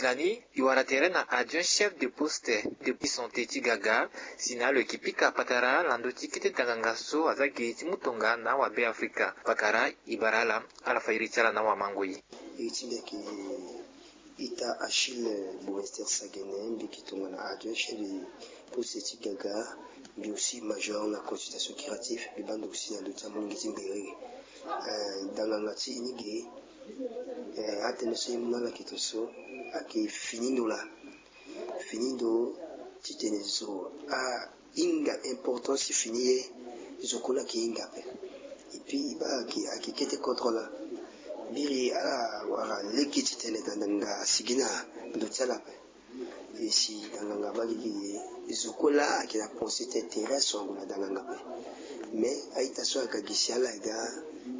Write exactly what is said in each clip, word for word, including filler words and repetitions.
Lani, e wara tere na adjoint chef de poste de santé ti Gaga, si na lo yeke pika patara na ndö ti kete danganga so aza gi ti mu tonga na awabe Afrika. Pakara e bara ala, ala fa iri ti ala na awamangoi. Iri ti mbi ayeke ita Achille Boester Sagene, mbi yeke tongana adjoint chef de poste ti Gaga, mbi aussi major na consultation curative, mbi baa ndo aussi na ndö ti amolenge ti Mberere. Eh, danganga ti e ni ge, eh, atënë so e mu na ala kete so ayeke fini ndo laa. Fini ndo titene zo ahinga importance ti fini ye, zo kue laa ayeke hinga ape. Et puis e baa ayeke, ayeke kete kodro laa. Biri ala wara lege titene danganga asigi na ndo ti ala ape. E si danganga abaa lege ye, zo kue laa ayeke na pensée ti intérêt aso ague na danganga ape. Mais a-ita so aga gi si ala aga,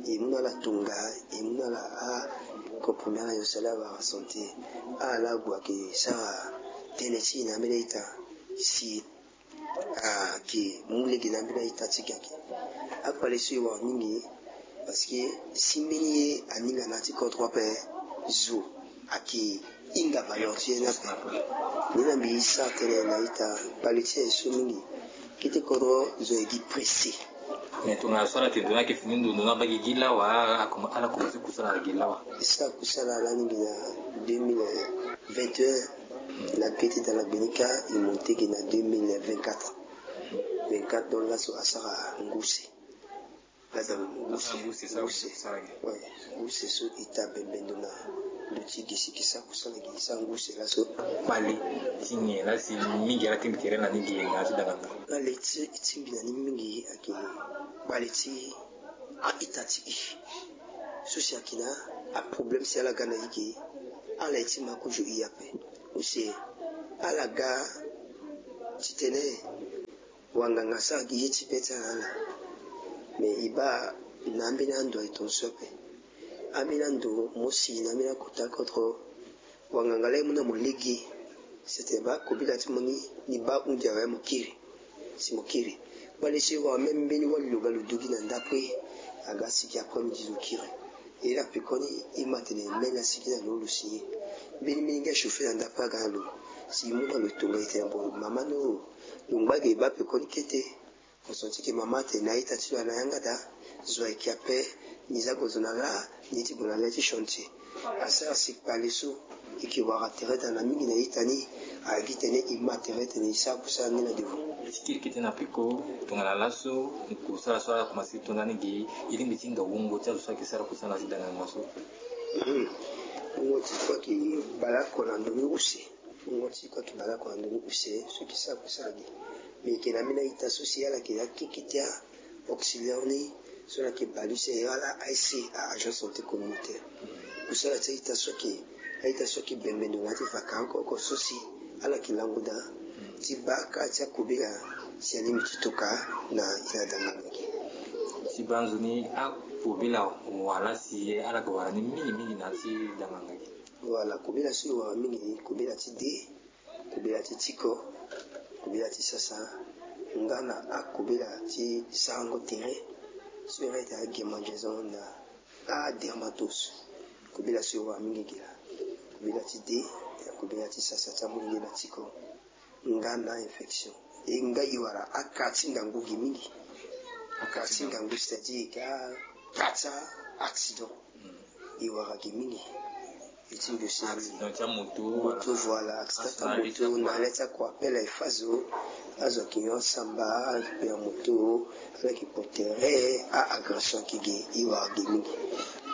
e mu na ala tonga, e mu na ala a-comprimé ala nyonso, ala wara santé. Ala gue ayeke sara tënë ti e na ambeni a-ita si ayeke mu lege na ambeni a-ita ti Gaga. Akpale so e wara mingi, parce que si mbeni ye aninga na ya ti kodro ape, zo ayeke hinga valeur ti ye ni ape. Ni na mbi sara tënë na ita, kpale ti aye so mingi. Kete kodro zo ayeke gi pressé. Mais tongana so ala tene ndo ni ayeke fini ndo, ndo ni abaa gi gi lawa, ala, ala komanse kusala na gi lawa. E sara kusala lani gi na deux mille vingt et un. Na kete dala gbenika e monté gi na deux mille vingt-quatre. Vingt-quatre donc laso asara nguse. Laso nguse, nguse. Ouais, nguse so e ta bembe ndo na ndo ti gi si e ke sara kusala gi, e sara nguse laso. Kpale ti nyen la si mingi ala tingbi tere na ni gi na ya ti danganga? Kpale ti e tingbi na ni mingi ayeke kpale ti a-ita ti e. So si ayeke na aproblème si ala ga na e ge, ala ye ti ma kozo e ape. Use ala ga titene wanganga asara gi ye ti be ti ala na ala. Mais e baa na ambeni ando aye tongaso ape. Ambeni ando mo si na ambeni akota kodro, wanganga laa e mu na mo lege. Sete baa kobela ti mo ni, ni baa hunzi awe mo kiri. Si mo kiri, kpale so e wara même mbeni wali lo ga lo dugi na ndapre, aga sigi après midi lo kiri. E la pekoni e ma tene mene asigi na lo, lo si ye. Mbeni mbeni nga chauffer na ndapre aga na lo. Si e mu na lo tonga e tene bon mama no, lo ngba ge e baa pekoni kete. Mo senti ke mama atene na a-ita ti lo ana yanga daa, zo ayeke ape, ni za gue zo na laa, ni ti gue na le ti chantier. Asara si kpale so e ke wara tere daa na mingi na ita ni, ayeke tene e ma tere tene e sara kusala ni na devant. Ti kiri kete na peko, tongana laso kusala so ala komanse ti to ndani ge, e lingbi ti hinga wungo ti azo so ayeke sara kusala na ti danganga so. Wungo ti kue ayeke bale oko na ndo ni use. Wungo ti kue ayeke bale oko na ndo ni use so e ke sara kusala ge. Me e ke na ambeni a-ita so si ala yeke na akeke ti a-auxiliaire ni so ala yeke bale use, e ala A S C, a-agent santé communautaire. Kusala ti a-ita so ayeke, a-ita so ayeke bembe ndo na ya ti vaka oko oko so si ala yeke lango daa ti baa kâ ti akobela si alingbi ti toka na e na danganga ge. Ti baa nzoni akobela wala si ala yeke wara ni mingi mingi na ya ti danganga ge. Voilà, kobela so e wara mingi, kobela ti de, kobela ti tiko, kobela ti sasa, nga na akobela ti sarango tere so e rete agemangeaison na adermatose. Kobela so e wara mingi gi laa, kobela ti de, kobela ti sasa ti amolenge na tiko, nga na infection. E nga e wara akâ ti ngangu gi mingi. Akâ ti ngangu, c'est-à-dire ka, kâ ti accident. E wara gi mingi. E ti ndosi accident ti amoto, moto, voilà, accident ti amoto na le ti akua pele e fa zo. Azo ayeke nyon asamba, ayeke pe na moto, ala yeke kpo tere, a-agression ayeke ge, e wara gi mingi.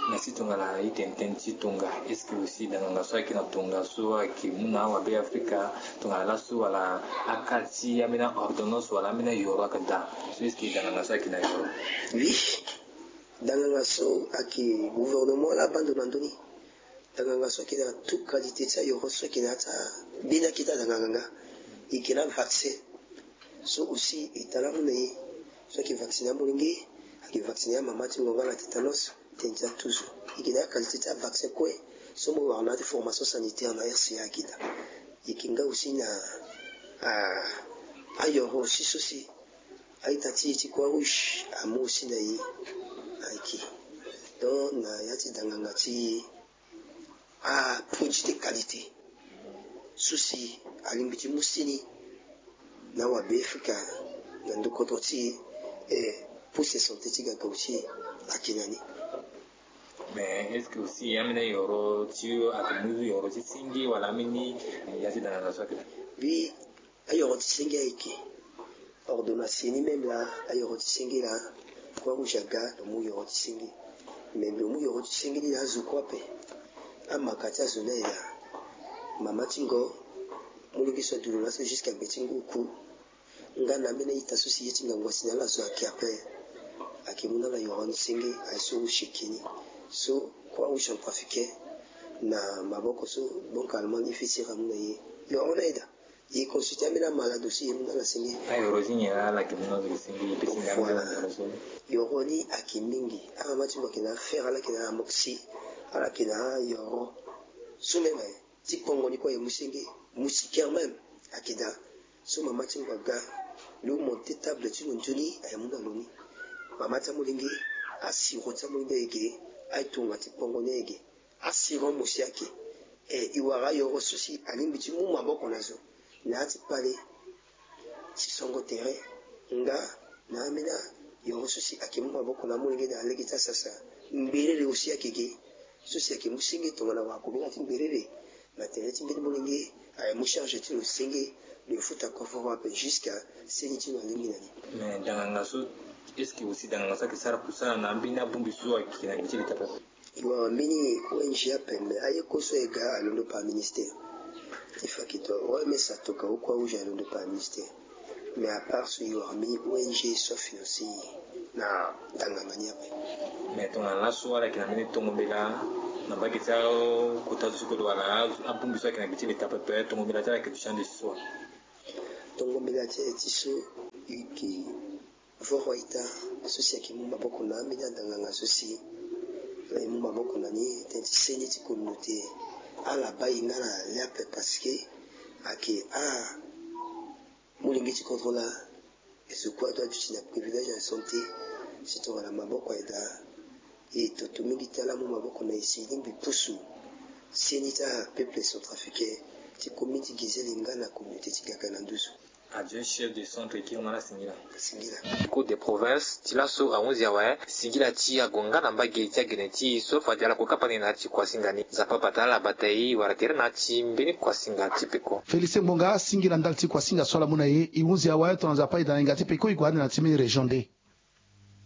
Merci tongana e tene tënë ti tonga. Est-ce que aussi danganga so ayeke na tonga so ayeke mu na awabe Afrika, tongana laso wala akâ ti ambeni ordonnance wala ambeni ayoro ayeke daa? So est-ce que danganga so ayeke na yoro? Oui. Danganga so ayeke gouvernement laa abaa ndo na ndö ni. Danganga so ayeke na tout qualité ti ayoro so ayeke na ya ti ambeni akete adanganga nga. E yeke na vaccin so aussi e ta lamu na e. So ayeke vacciner amolenge, ayeke vacciner amama ti ngonga na tétanos, tënë ti atuzo. E yeke na qualité ti avaccin kue so mo wara na ya ti formation sanitaire na R C A ayeke daa. E yeke nga aussi na, ah, ayoro aussi so si a-ita ti e ti Croix Rouge amu aussi na e. Ayeke donc na ya ti danganga ti e, aproduit de qualité. so si alingbi ti mu seni na wabe afrika na ndo kodro ti e, eh, poste santé ti gagau ti e ayeke na ni. Mais est-ce que aussi ambeni ayoro ti ayeke mu yoro ti senge wala ambeni ya ti dana na so ayeke? Bi ayoro ti senge ayeke ordonnance ni même la. Ayoro ti senge la, croix rouge aga lo mu yoro ti senge. Mais lo mu yoro ti senge ni la azo kue ape. Amaka ti azo ni aye daa. Mama ti ngo, molenge so adu lo laso jusqu'à gbe ti ngu oku. Nga na ambeni a-ita so si ye ti ngangu asi na ala so ayeke ape. Ayeke mu na ala yoro ni senge aye so use eke ni. So croix rouge centrafricain na maboko so banque allemande ni feti ira mu na ye. Yoro ni aye daa. E consulter ambeni amalade aussi, e mu na ala senge. Ayoro ti nyen la ala yeke mu na ala senge? E pesi nga. Voilà. Yoro ni ayeke mingi. Amama ti mo ayeke na affaire, ala yeke na amoxy, ala yeke na ayoro so même aye ti kpongo ni kue aye mu senge. Moustiquaire même ayeke daa. So mama ti mo aga, lo monte table ti lo nzoni aye mu na lo ni. Mama ti amolenge, asiro ti amolenge aye ge, aye tonga ti kpongo ni aye ge. Asirant mo si ayeke. E, e wara ayoro so si alingbi ti mu maboko na zo na ya ti kpale ti songo tere. Nga na ambeni ayoro so si ayeke mu maboko na amolenge na lege ti asasa. Mberere aussi ayeke ge so si ayeke mu senge tongana wara kobela ti mberere na tere ti mbeni molenge. Aye mu charge ti lo senge, lo futa koforo ape jusqu'à seni ti lo alingbi na ni. Mais danganga so, est-ce que aussi danganga so ayeke sara kusala na ambeni abongbi so ayeke na gbe ti leta ape? E wara mbeni O N G ape, mais aye kue so e ga alondo par ministère. Ti fa ke to, O M S atoka, o Croix Rouge alondo par ministère. Mais à part so, e wara mbeni O N G so afinance na danganga ni ape. Mais tongana laso ala yeke na mbeni tongo mbela na mbage ti akota zo so kodro wala abongbi so ayeke na gbe ti leta ape, tongo mbela ti ala ayeke ti ande ti so wa? Tongo mbela ti aye ti so e yeke voro a-ita so si ayeke mu maboko na ambeni adanganga so si e mu maboko na ni tënë ti seni ti communauté. Ala baa e nga na le ape parce que ayeke a molenge ti kodro laa. E zo kue ado aduti na privilège ya santé. Si tongana maboko aye daa, e toto mingi ti ala amu maboko na e si e lingbi pusu seni ti apeuple centrafricain ti kombeni ti Gizele nga na communauté ti Gaka na nduzu. Adjoint chef de centre, e kiri nga na singila. Singila. Cour de province ti laso ahunzi awe singila ti ague nga na mbage ti agene ti e so fade ala kue kapa ni na ya ti kuasinga ni. Nzapa abata ala, abata e, e wara tere na ya ti mbeni kuasinga ti peko. Félicien Ngbonga, singila ndali ti kuasinga so ala mu na e. E hunzi awe tongana Nzapa ayeda na hinga ti peko, e gue ande na ya ti mbeni région nde?